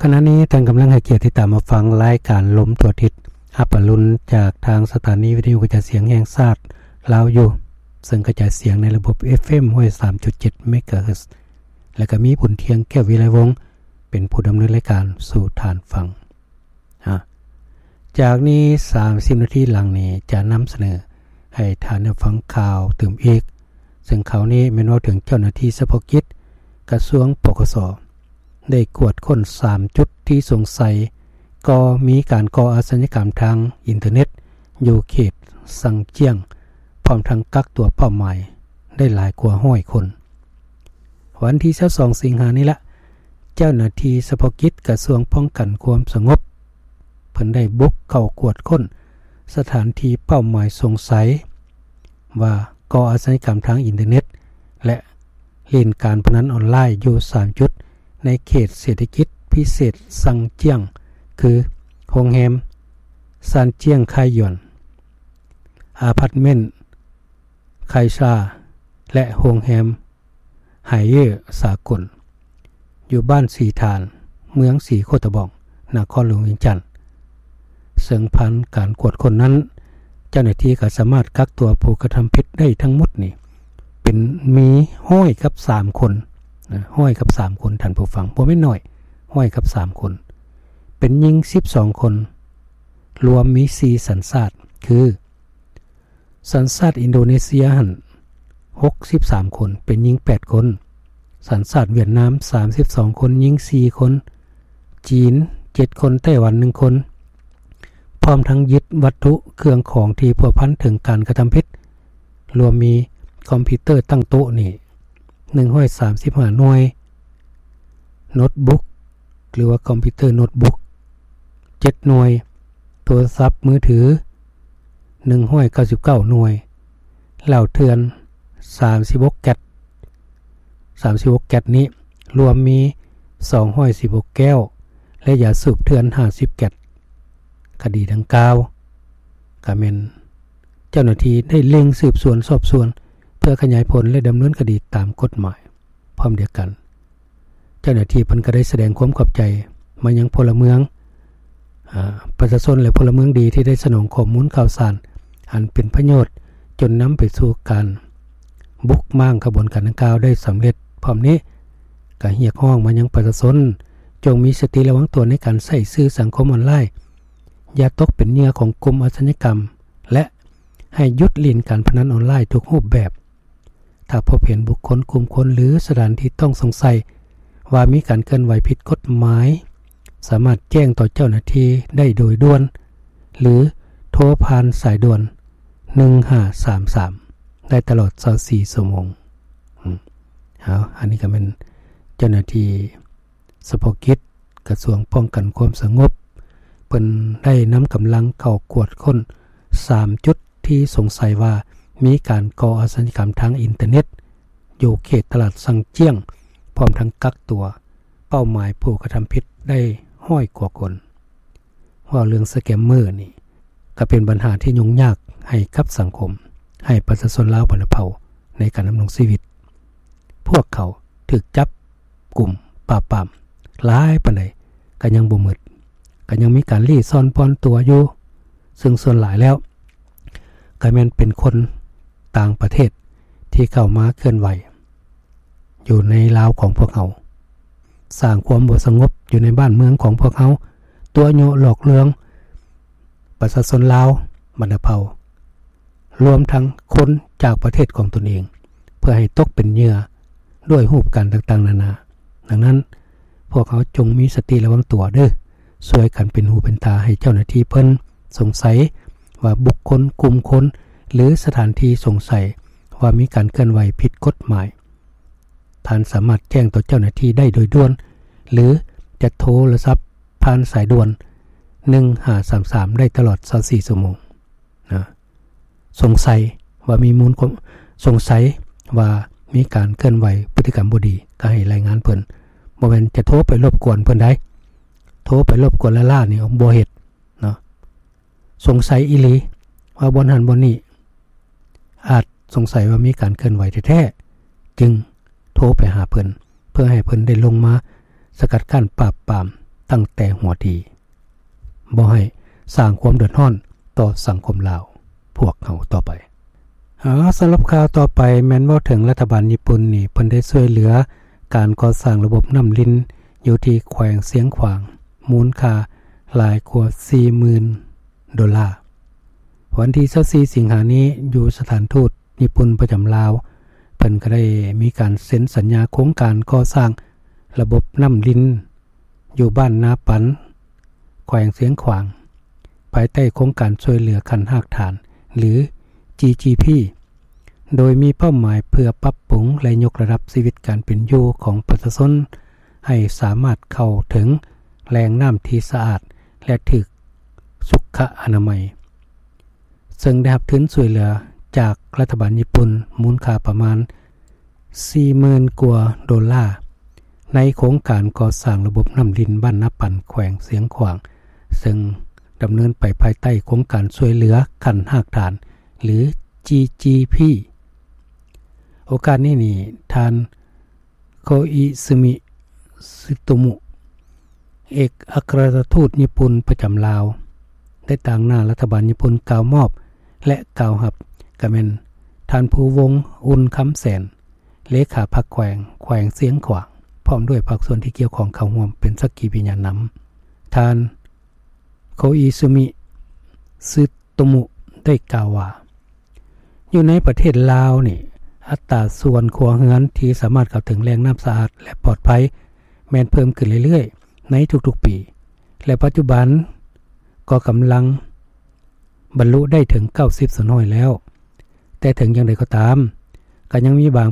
ຂະນະນີ້ທ່ານກຳລັງໃຫ້ກຽດຕິດຕາມຮັບຟັງລາຍການລົມທົ່ວທິດ ຮັບອະລຸນຈາກທາງສະຖານີວິທະຍຸກະຈາຍສຽງແຫ່ງຊາດລາວຢູ່ ເຊິ່ງກະຈາຍສຽງໃນລະບົບ ເອຟເອັມ ຮ້ອຍສາມຈຸດເຈັດ ເມກາເຮີດ ແລະກະມີບຸນທຽງ ແກ້ວວິໄລວົງ ເປັນຜູ້ດຳເນີນລາຍການສູ່ທ່ານຟັງ. ອາ ຈາກນີ້ສາມສິບນາທີຫຼັງນີ້ຈະນຳສະເໜີໃຫ້ທ່ານໄດ້ຟັງຂ່າວຕື່ມອີກ, ເຊິ່ງຂ່າວນີ້ແມ່ນເວົ້າເຖິງເຈົ້າໜ້າທີ່ສະເພາະກິດກະຊວງ ປກສ ໄດ້ກວດຄົ້ນສາມຈຸດທີ່ສົງໄສ ກໍມີການກໍ່ອາຊະຍາກຳທາງອິນເຕີເນັດຢູ່ເຂດຊັງຈຽງ, ພ້ອມທັງກັກຕົວເປົ້າໝາຍໄດ້ຫຼາຍກວ່າຮ້ອຍຄົນ. ວັນທີຊາວສອງ ສິງຫານີ້ລະ ເຈົ້າໜ້າທີ່ສະເພາະກິດກະຊວງປ້ອງກັນຄວາມສະຫງົບ ເພິ່ນໄດ້ບຸກເຂົ້າກວດຄົ້ນສະຖານທີ່ເປົ້າໝາຍສົງໄສວ່າກໍ່ອາຊະຍາກຳທາງອິນເຕີເນັດ ແລະ ຫຼິ້ນການພະນັນອອນລາຍຢູ່ສາມຈຸດໃນເຂດເສດຖະກິດພິເສດຊັງຈຽງ ຄື ໂຮງແຮມຊານຈຽງໄຄຢວນ, ອາພາດເມັນໄຄຊາ ແລະ ໂຮງແຮມ ໄຮເຢສາກົນ ຢູ່ບ້ານສີຖານ ເມືອງສີໂຄດຕະບອງ ນະຄອນຫຼວງວຽງຈັນ. ເຊິ່ງຜ່ານການກວດຄົ້ນນັ້ນ ເຈົ້າໜ້າທີ່ກໍສາມາດກັກຕົວຜູ້ກະທຳຜິດໄດ້ທັງໝົດນີ້ ເປັນ ມີຮ້ອຍກັບສາມຄົນນະ, ຮ້ອຍກັບສາມຄົນ ທ່ານຜູ້ຟັງ, ບໍ່ແມ່ນໜ້ອຍ, ຮ້ອຍກັບສາມຄົນ, ເປັນຍິງສິບສອງຄົນ, ລວມມີສີ່ສັນຊາດ ຄື ສັນຊາດອິນໂດເນເຊຍຫັ້ນຫົກສິບສາມຄົນ, ເປັນຍິງແປດຄົນ, ສັນຊາດຫວຽດນາມສາມສິບສອງຄົນ, ຍິງສີ່ຄົນ, ຈີນເຈັດຄົນ, ໄຕ້ຫວັນໜຶ່ງຄົນ, ພ້ອມທັງຍຶດວັດຖຸເຄື່ອງຂອງທີ່ພົວພັນເຖິງການກະທຳຜິດ, ລວມມີຄອມພິວເຕີຕັ້ງໂຕະນີ້ ໜຶ່ງຮ້ອຍສາມສິບຫ້າໜ່ວຍ, ໂນດບຸກ ຫຼືວ່າຄອມພິວເຕີໂນດບຸກ ເຈັດໜ່ວຍ, ໂທລະສັບມືຖື ໜຶ່ງຮ້ອຍເກົ້າສິບເກົ້າໜ່ວຍ, ເຫຼົ້າເຖື່ອນ ສາມສິບຫົກແກັດ, ສາມສິບຫົກແກັດນີ້ລວມມີ ສອງຮ້ອຍສິບຫົກແກ້ວ ແລະ ຢາສູບເຖື່ອນ ຫ້າສິບແກັດ. ຄະດີດັ່ງກ່າວ ກະແມ່ນເຈົ້າໜ້າທີ່ໄດ້ເລັ່ງສືບສວນສອບສວນ ເພື່ອຂະຫຍາຍຜົນ ແລະ ດຳເນີນຄະດີຕາມກົດໝາຍ. ພ້ອມດຽວກັນ ເຈົ້າໜ້າທີ່ເພິ່ນກໍໄດ້ສະແດງຄວາມຂອບໃຈມາຍັງພົນລະເມືອງ, ອາ, ປະຊາຊົນ ແລະ ພົນລະເມືອງດີທີ່ໄດ້ສະໜອງຂໍ້ມູນຂ່າວສານອັນເປັນປະໂຫຍດ ຈົນນຳໄປສູ່ການບຸກມ້າງຂະບວນການດັ່ງກ່າວໄດ້ສຳເລັດ. ພ້ອມນີ້ກໍຮຽກຮ້ອງມາຍັງປະຊາຊົນ ຈົ່ງມີສະຕິລະວັງຕົວໃນການໃຊ້ສື່ສັງຄົມອອນລາຍ, ຢ່າຕົກເປັນເຫຍື່ອຂອງກຸ່ມອາຊະຍາກຳ ແລະ ໃຫ້ຢຸດຫຼິ້ນການພະນັນອອນລາຍທຸກຮູບແບບ. ຖ້າພົບເຫັນບຸກຄົນ, ກຸ່ມຄົນ ຫຼື ສະຖານທີ່ຕ້ອງສົງໄສວ່າມີການເຄື່ອນໄຫວຜິດກົດໝາຍ, ສາມາດແຈ້ງຕໍ່ເຈົ້າໜ້າທີ່ໄດ້ໂດຍດ່ວນ ຫຼື ໂທຜ່ານສາຍດ່ວນ ໜຶ່ງຫ້າສາມສາມ ໄດ້ຕະຫຼອດຊາວສີ່ຊົ່ວໂມງ. ອືມ ເອົາ ອັນນີ້ກໍແມ່ນເຈົ້າໜ້າທີ່ ສະເພາະກິດກະຊວງປ້ອງກັນຄວາມສະຫງົບ ເພິ່ນໄດ້ນຳກຳລັງເຂົ້າກວດຄົ້ນສາມຈຸດທີ່ສົງໄສວ່າມີການກໍ່ອາຊະຍາກຳທາງອິນເຕີເນັດ ຢູ່ເຂດຕະຫຼາດຊັງຈຽງ, ພ້ອມທັງກັກຕົວເປົ້າໝາຍຜູ້ກະທຳຜິດໄດ້ຮ້ອຍກວ່າຄົນ. ເວົ້າເລື່ອງສະແກມເມີນີ້ ກໍເປັນບັນຫາທີ່ຫຍຸ້ງຍາກໃຫ້ກັບສັງຄົມ, ໃຫ້ປະຊາຊົນລາວບັນດາເຜົ່າໃນການດຳລົງຊີວິດ. ພວກເຂົາຖືກຈັບກຸມປາບປາມຫຼາຍປານໃດກໍຍັງບໍ່ໝົດ, ກໍຍັງມີການລີ້ຊ່ອນປ່ອນຕົວຢູ່, ເຊິ່ງສ່ວນຫຼາຍແລ້ວກໍແມ່ນເປັນຄົນຕ່າງປະເທດທີ່ເຂົ້າມາເຄື່ອນໄຫວ ຢູ່ໃນລາວຂອງພວກເຮົາ, ສ້າງຄວາມບໍ່ສະຫງົບຢູ່ໃນບ້ານເມືອງຂອງພວກເຮົາ, ຕົວະຍົວະຫຼອກລວງປະຊາຊົນລາວບັນດາເຜົ່າ, ລວມທັງຄົນຈາກປະເທດຂອງຕົນເອງ, ເພື່ອໃຫ້ຕົກເປັນເຫຍື່ອດ້ວຍຮູບການຕ່າງໆນານາ. ດັ່ງນັ້ນ, ພວກເຮົາຈົ່ງມີສະຕິລະວັງຕົວເດີ້, ຊ່ວຍກັນເປັນຫູເປັນຕາໃຫ້ເຈົ້າໜ້າທີ່ເພິ່ນ, ສົງໄສວ່າບຸກຄົນ, ກຸ່ມຄົນ ຫຼື ສະຖານທີ່ສົງໄສວ່າມີການເຄື່ອນໄຫວຜິດກົດໝາຍ, ທ່ານສາມາດແຈ້ງຕໍ່ເຈົ້າໜ້າທີ່ໄດ້ໂດຍດ່ວນ ຫຼື ຈະໂທລະສັບຜ່ານສາຍດ່ວນ ໜຶ່ງຫ້າສາມສາມ ໄດ້ຕະຫຼອດຊາວສີ່ຊົ່ວໂມງນະ. ສົງໄສວ່າມີມູນຄວາມ ສົງໄສວ່າມີການເຄື່ອນໄຫວພຶດຕິກຳບໍ່ດີ ກໍໃຫ້ລາຍງານເພິ່ນ, ບໍ່ແມ່ນຈະໂທໄປລົບກວນເພິ່ນໃດ໋. ໂທໄປລົບກວນລ້າໆນີ້ບໍ່ເຮັດເນາະ. ສົງໄສອີ່ຫຼີວ່າບ່ອນຫັ້ນບ່ອນນີ້ ອາດສົງໄສວ່າມີການເຄື່ອນໄຫວແທ້ໆ ຈຶ່ງໂທໄປຫາເພິ່ນ ເພື່ອໃຫ້ເພິ່ນໄດ້ລົງມາສະກັດກັ້ນປາບປາມ ຕັ້ງແຕ່ຫົວທີ ບໍ່ໃຫ້ສ້າງຄວາມເດືອດຮ້ອນຕໍ່ສັງຄົມລາວພວກເຮົາຕໍ່ໄປ. ອາ ສຳລັບຂ່າວຕໍ່ໄປແມ່ນເວົ້າເຖິງລັດຖະບານຍີ່ປຸ່ນນີ້ ເພິ່ນໄດ້ຊ່ວຍເຫຼືອການກໍ່ສ້າງລະບົບນ້ຳລິນຢູ່ທີ່ແຂວງຊຽງຂວາງ ມູນຄ່າຫຼາຍກວ່າສີ່ໝື່ນໂດລາ. ວັນທີຊາວສີ່ສິງຫານີ້ ຢູ່ສະຖານທູດຍີ່ປຸ່ນປະຈຳລາວ ເພິ່ນກໍໄດ້ມີການເຊັນສັນຍາໂຄງການກໍ່ສ້າງລະບົບນ້ຳລິນ ຢູ່ບ້ານນາປັນ ແຂວງຊຽງຂວາງ ພາຍໃຕ້ໂຄງການຊ່ວຍເຫຼືອຂັ້ນຮາກຖານ ຫຼື GGP ໂດຍມີເປົ້າໝາຍເພື່ອປັບປຸງ ແລະ ຍົກລະດັບຊີວິດການເປັນຢູ່ຂອງປະຊາຊົນ ໃຫ້ສາມາດເຂົ້າເຖິງແຫຼ່ງນ້ຳທີ່ສະອາດ ແລະ ຖືກສຸຂະອະນາໄມ. ເຊິ່ງໄດ້ຮັບທຶນຊ່ວຍເຫຼືອຈາກລັດຖະບານຍີ່ປຸ່ນ ມູນຄ່າປະມານສີ່ໝື່ນກວ່າໂດລາ ໃນໂຄງການກໍ່ສ້າງລະບົບນ້ຳລິນບ້ານນາປັນ ແຂວງຊຽງຂວາງ ເຊິ່ງດຳເນີນໄປພາຍໃຕ້ໂຄງການຊ່ວຍເຫຼືອຂັ້ນຮາກຖານ ຫຼື GGP. ໂອກາດນີ້ນີ້ ທ່ານ ໂຄອິຊຶມິ ຊຶໂຕມຸ ເອກອັກຄະລັດຖະທູດຍີ່ປຸ່ນປະຈຳລາວ ໄດ້ຕາງໜ້າລັດຖະບານຍີ່ປຸ່ນກ່າວມອບ ແລະ ກ່າວຮັບ ກໍແມ່ນທ່ານ ພູວົງ ອຸ່ນຄຳແສນ ເລຂາພັກແຂວງ ແຂວງຊຽງຂວາງ ພ້ອມດ້ວຍພາກສ່ວນທີ່ກ່ຽວຂ້ອງເຂົ້າຮ່ວມເປັນສັກຂີພິຍານນຳ. ທ່ານ ໂຄອິຊຶມິ ຊຶໂຕມຸ ໄດ້ກ່າວວ່າ ຢູ່ໃນປະເທດລາວນີ້ ອັດຕາສ່ວນຄົວເຮືອນທີ່ສາມາດເຂົ້າເຖິງແຫຼ່ງນ້ຳສະອາດ ແລະ ປອດໄພ ແມ່ນເພີ່ມຂຶ້ນເລື້ອຍໆໃນທຸກໆປີ ແລະ ປັດຈຸບັນກໍກຳລັງບັນລຸໄດ້ເຖິງເກົ້າສິບສ່ວນຮ້ອຍແລ້ວ. ແຕ່ເຖິງຢ່າງໃດກໍຕາມ ກໍຍັງມີບາງ